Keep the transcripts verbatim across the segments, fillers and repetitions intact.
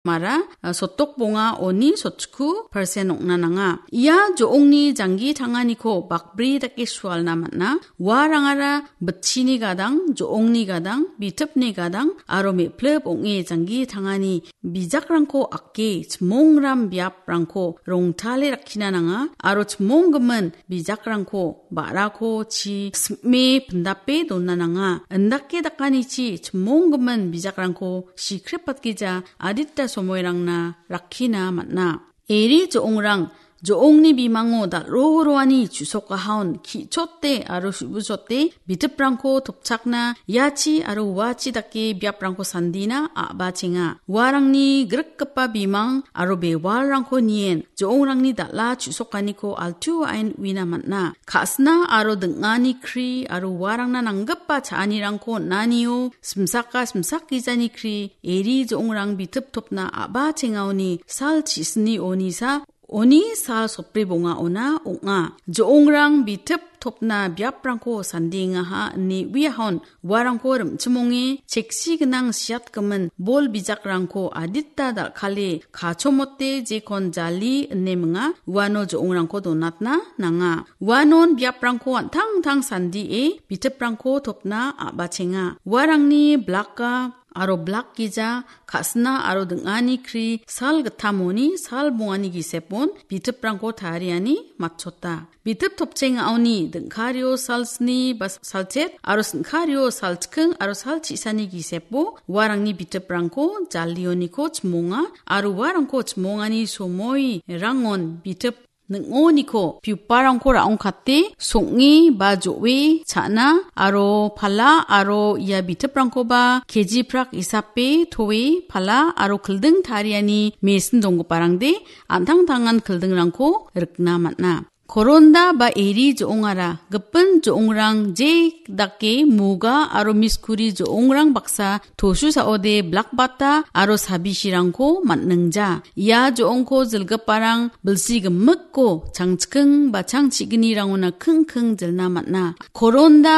mara, ah, sotdok bonga oni sotchiku persen ong·na nanga. Ia jo·ongni janggi tanganiko bakbri dake sualna man·a. Uarangara bitchini gadang, jo·ongni gadang, bitipni gadang, aro me·plip ong·e janggi tangani bijakrangko ake, chimongram biaprangko rongtale rakkina nanga, aro chimonggimin bijakrangko ba·rako chi sim·e pindape dona nanga. Indake dakanichi chimonggimin bijakrangko sikrepatgija adita somoirangna rakkina man·a. Eri jo·ongrang, jo·ongni bimango dal·ro roani chusokahaon ki·chote aro su·busote bitiprangko topchakna iachi aro uachi dake biaprangko sandina a·bachenga. Uarangni grikgipa bimang aro bewalrangko nien jo·ongrangni dal·a chu·sokaniko altuaen uina man·a. Ka·sina aro ding·ani kri aro uarangna nanggipa cha·anirangko on·anio simsaka simsak gijani kri eri jo·ongrang bitip topna a·bachengaoni sal chisni onisa oni sal sotbri bongaona ong·a. Jo·ongrang bitip topna biaprangko sandengaha ine uiahon uarangko rim·chimonge cheksi gnang siatgimin bol bijakrangko adita dal·kale kachomote jekon jali ine minga uano jo·ongrangko donatna nanga. Uanon biaprangko an·tangtang sandie bitiprangko topna a·bachenga. Uarangni blaka aro blak gija, ka·sina aro ding·ani kri sal gittamoni sal bongani gisepon bitiprangko tariani matchota. Bitip topchengaoni ding·kario sal sni ba salchet aro sin·kario sal chiking aro sal chisani gisepo uarangni bitiprangko jalioniko chimonga aro uarangko chimongani somoi rangon bitip ning·oniko piuparangko ra·ongkate song·e ba jo·e cha·na aro pala aro ia bitiprangkoba keji prak isape toe pala aro kilding tariani mesin donggiparangde an·tangtangan kildingrangko rikna man·a. Koronda ba eri jo·ongara gipin jo·ongrang je dake muga aro miskuri jo·ongrang baksa tosu saode blakbata aro sabisirangko man·ningja. Ia jo·ongko jilgiparang bilsi gimikko changchiking ba changchignirangona kingking jilna man·a. Koronda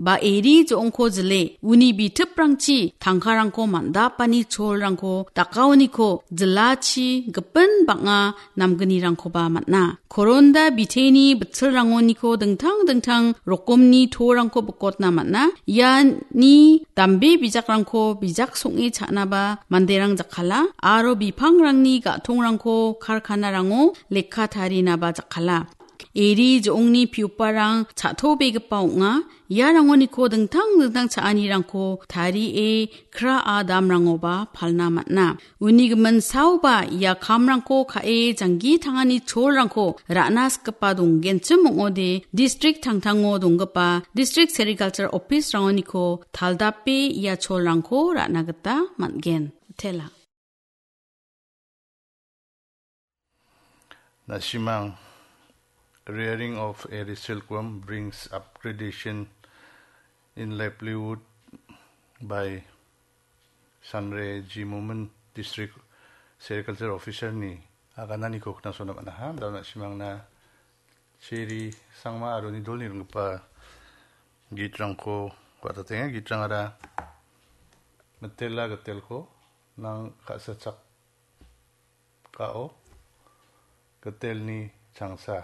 ba eri jo·ongko jile uni bitiprangchi tangkarangko man·dapani cholrangko dakaoniko jilachi gipin bang·a namgnirangkoba man·a. Koronda biteni bitsilrangoniko dingtang dingtang rokomni torangko bikotna man·a. Iani dambe bijakrangko bijak song·e cha·naba manderang jakkala aro bipangrangni ga·tongrangko karkanarango lekka tarinaba jakkala. Eri jo·ongni piuparang cha·tobegipa ong·a. Iarangoniko dingtang dingtang cha·anirangko tarie kra·a damrangoba palna man·a. Uni gimin saoba ia kamrangko ka·e janggi tangani cholrangko ra·na sikgipa donggenchim ong·ode distrik tangtango donggipa distrik serikalchar ofisrangoniko taldape ia cholrangko ra·na gita man·gen. Tela. Na·simang, Rearing of a Silkworm brings upgradation in livelihood by Sanre G Momin, District Sericulture Officer-ni agananiko knasona man·aha. Dao na·simangna Cheri Sangma aro Nidolni ringgipa gitrangko wa·tatenga. Gitrangara Mitela Gitelko, Nang ka·sachak kao Gitelni changsa,